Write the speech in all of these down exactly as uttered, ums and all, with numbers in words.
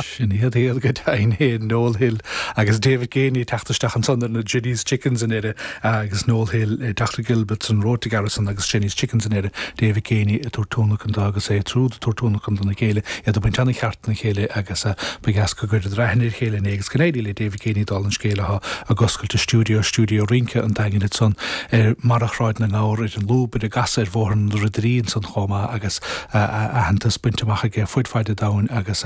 Sin iad iad go deimhin Noel Hill agus David Geaney teacht isteach ansan ar na Jenny's Chickens in air agus Noel Hill Dr Gilbertson Rota Garrison agus Jenny's Chickens in air David Geaney a tuairtúna agus é trúd tuairtúna na chéile iad a baint an cheart na chéile agus ba dheas go gcuir aithne ar chéile agus go n-éirí le David Geaney dul an scéal atá ag oscailt a stiúideo stiúideo rince an Daingin san ar Mharachráid na nGabhar ar an lúb ar a gas ar bhóthar na Ridirín san chomh maith agus aitheantas bainte amach aige fud fad an domhain agus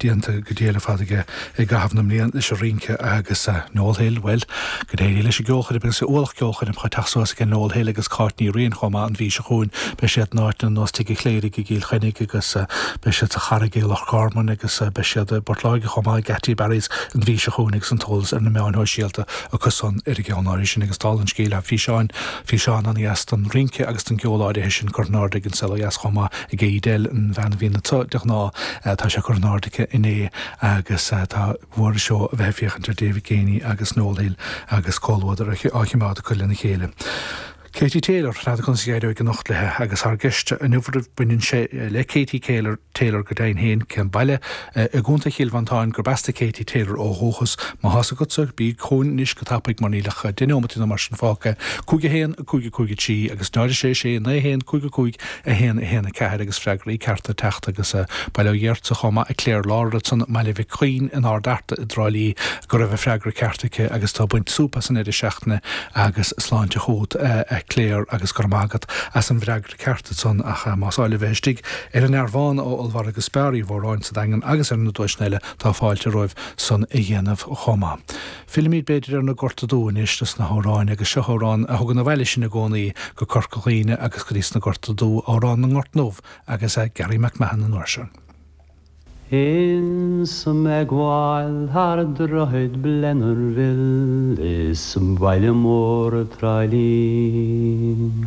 déanta go déile fad aige i gcaitheamh na mblian leis an rince agus Noel Hill well go n-éirí leis an gceolchoirm agus ualach ceolchoirm chu teach suas ag Noel Hill agus Cáit Ní Riain chomh maith an mhí seo chugainn beidh siad in áit ar nós Tigh an Chléirigh i gCill Chainnigh agus beidh siad sa Charraig i Loch Garman agus beidh siad i Bport Láirge chomh maith Geataí Barry's an mhí seo chugainn agus an t-eolas ar na meáin shóisialta acu san ar a gceann áirithe sin agus tá an scéal físeáin físeán an-deas don rince agus don gceol áirithe sin curtha in airde ag an saol dheas chomh maith ag Éidel an bhean a bhíonn de ghnáth tá sé curtha in airde aici inné agus tá mhór seo a bheith féachaint ar David Geaney agus Noel Hill agus comhluadar á choimeád acu lena chéile. Katie Taylor le conas éireoidh anocht léi agus ár gceist inniu baineann sé le Katie Taylor Taylor go deimhin féin cén baile i gContae Chill Mhantáin gurb as do Katie Taylor ó dhúchas má tá a fhios agatsa bí chugainn anois go tapaidh mar níl ach deich nóiméad nó mar sin fágtha cúig a haon cúig cúig trí agus náid sé sé naoi haon cúig cúig a haon a haon a ceathair agus freagraí cearta teacht agus Baile Ghéarta chomh maith a Claire Lára san Maile Mhic Chuinn in Ard Fhearta i dTrá Lí go raibh a freagra ceart aici agus tá baint súp as an deireadh seachtaine agus sláinte chugat a Claire agus go raibh maith agat as an bhfreagra ceart san ach más áil libh bheith istigh ar an Airván ó Ollmhargadh Spar Uí Mhóráin sa Daingean agus ar na duaiseanna eile tá fáilte romhaibh san a dhéanamh chomh maith. Fillimid b'fhéidir ar na Gorta Dubha anois leis na hamhráin agus seo amhrán a thugann abhaile sinn i gcónaí go Corca Dhuibhne agus go dtí sna Gorta Dubha amhrán na nGort nDubh agus Gary McMahon an uair seo. Ins mé ag gabháil thar droichead Blennerville is baile mór Trá Lí.